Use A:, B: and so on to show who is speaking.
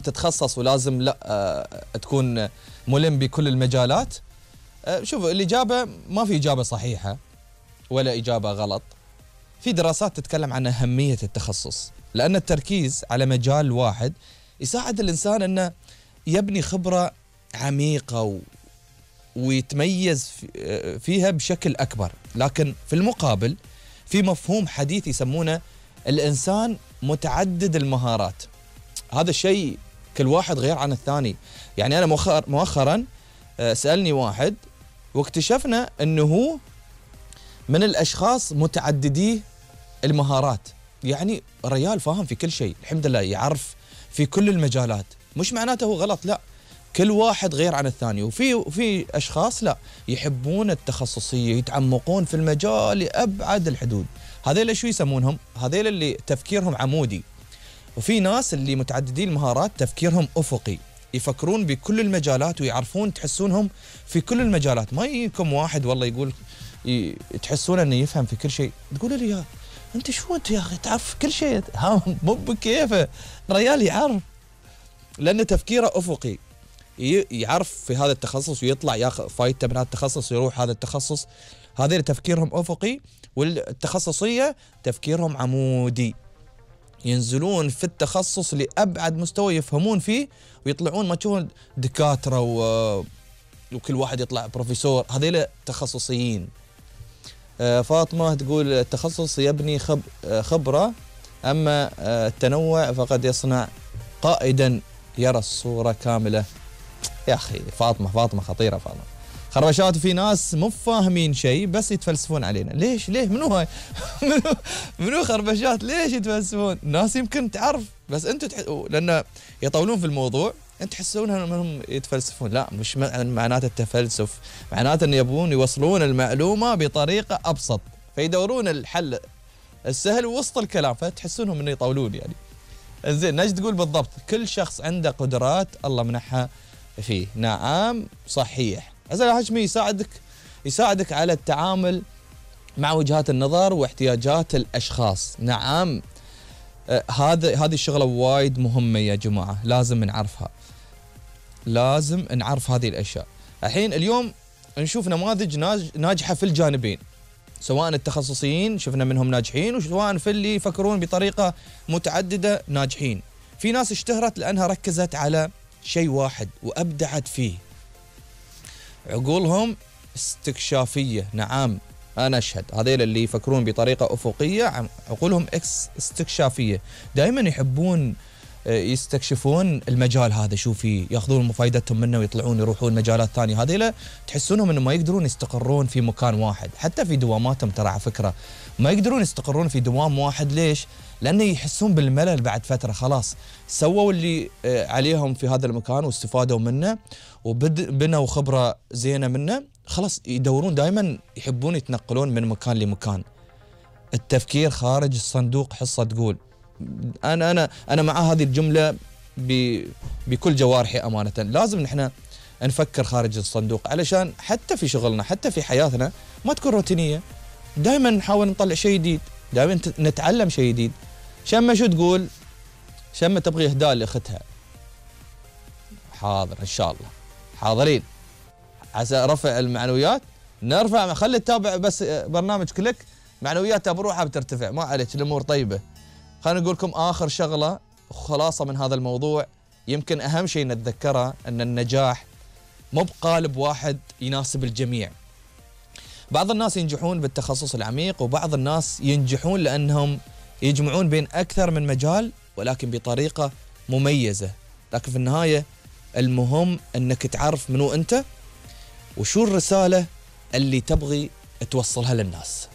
A: تتخصص ولازم لا تكون ملم بكل المجالات؟ شوف، الإجابة ما في إجابة صحيحة ولا إجابة غلط. في دراسات تتكلم عن أهمية التخصص، لأن التركيز على مجال واحد يساعد الإنسان أنه يبني خبرة عميقة ويتميز فيها بشكل أكبر. لكن في المقابل في مفهوم حديث يسمونه الإنسان متعدد المهارات. هذا الشيء كل واحد غير عن الثاني. يعني أنا مؤخرا سألني واحد واكتشفنا أنه هو من الأشخاص متعددي المهارات. يعني الرجال فاهم في كل شيء الحمد لله، يعرف في كل المجالات. مش معناته هو غلط، لا، كل واحد غير عن الثاني. وفي أشخاص لا، يحبون التخصصية، يتعمقون في المجال لأبعد الحدود. هذيل شو يسمونهم؟ هذيل اللي تفكيرهم عمودي. وفي ناس اللي متعددين المهارات تفكيرهم أفقي، يفكرون بكل المجالات ويعرفون، تحسونهم في كل المجالات. ما يجيكم واحد والله يقول تحسون انه يفهم في كل شيء، تقول لي يا انت شو انت يا اخي تعرف كل شيء؟ ها مو بكيفه، الرجال يعرف لان تفكيره افقي، يعرف في هذا التخصص ويطلع ياخذ فايدته من هذا التخصص ويروح هذا التخصص. هذول تفكيرهم افقي، والتخصصيه تفكيرهم عمودي، ينزلون في التخصص لأبعد مستوى يفهمون فيه ويطلعون ما تشوفون دكاترة وكل واحد يطلع بروفيسور. هذيل تخصصيين. فاطمة تقول التخصص يبني خبرة، أما التنوع فقد يصنع قائدا يرى الصورة كاملة. يا أخي فاطمة خطيرة. فاطمة خربشات. في ناس مو فاهمين شيء بس يتفلسفون علينا. ليه منو هاي؟ منو خربشات؟ ليش يتفلسفون؟ الناس يمكن تعرف بس انتم لان يطولون في الموضوع انت تحسونها انهم يتفلسفون. لا، مش معناته التفلسف، معناته ان يبغون يوصلون المعلومه بطريقه ابسط، فيدورون الحل السهل وسط الكلام، فتحسونهم انه يطولون يعني. زين، نجد تقول بالضبط كل شخص عنده قدرات الله منحها فيه. نعم صحيح. عزيزي الهاشمي يساعدك على التعامل مع وجهات النظر واحتياجات الأشخاص. نعم، هذه الشغلة وايد مهمة يا جماعة، لازم نعرفها، لازم نعرف هذه الأشياء. الحين اليوم نشوف نماذج ناجحة في الجانبين، سواء التخصصيين شفنا منهم ناجحين، وسواء في اللي يفكرون بطريقة متعددة ناجحين. في ناس اشتهرت لأنها ركزت على شيء واحد وأبدعت فيه، عقولهم استكشافية. نعم أنا أشهد، هذيل اللي يفكرون بطريقة أفقية عقولهم استكشافية، دائما يحبون يستكشفون المجال هذا، شو فيه، ياخذون فائدتهم منه ويطلعون يروحون مجالات ثانية. هذيل تحسونهم انه ما يقدرون يستقرون في مكان واحد، حتى في دواماتهم ترى على فكرة ما يقدرون يستقرون في دوام واحد. ليش؟ لأنه يحسون بالملل بعد فترة. خلاص سووا اللي عليهم في هذا المكان واستفادوا منه وبنوا خبرة زينة منه، خلاص يدورون دائما، يحبون يتنقلون من مكان لمكان. التفكير خارج الصندوق حصة تقول. أنا مع هذه الجملة بكل جوارحي أمانة. لازم نحن نفكر خارج الصندوق علشان حتى في شغلنا، حتى في حياتنا ما تكون روتينية. دائما نحاول نطلع شيء جديد، دائما نتعلم شيء جديد. شمة شو تقول؟ شمة تبغي إهداء لأختها. حاضر إن شاء الله، حاضرين عسى رفع المعنويات. نرفع، خلي تتابع بس برنامج كليك، معنوياتها بروحها بترتفع، ما عليك، الأمور طيبة. خلينا نقول لكم آخر شغلة خلاصة من هذا الموضوع، يمكن أهم شيء نتذكره أن النجاح مو بقالب واحد يناسب الجميع. بعض الناس ينجحون بالتخصص العميق، وبعض الناس ينجحون لأنهم يجمعون بين أكثر من مجال ولكن بطريقة مميزة. لكن في النهاية المهم أنك تعرف منو أنت وشو الرسالة اللي تبغي توصلها للناس.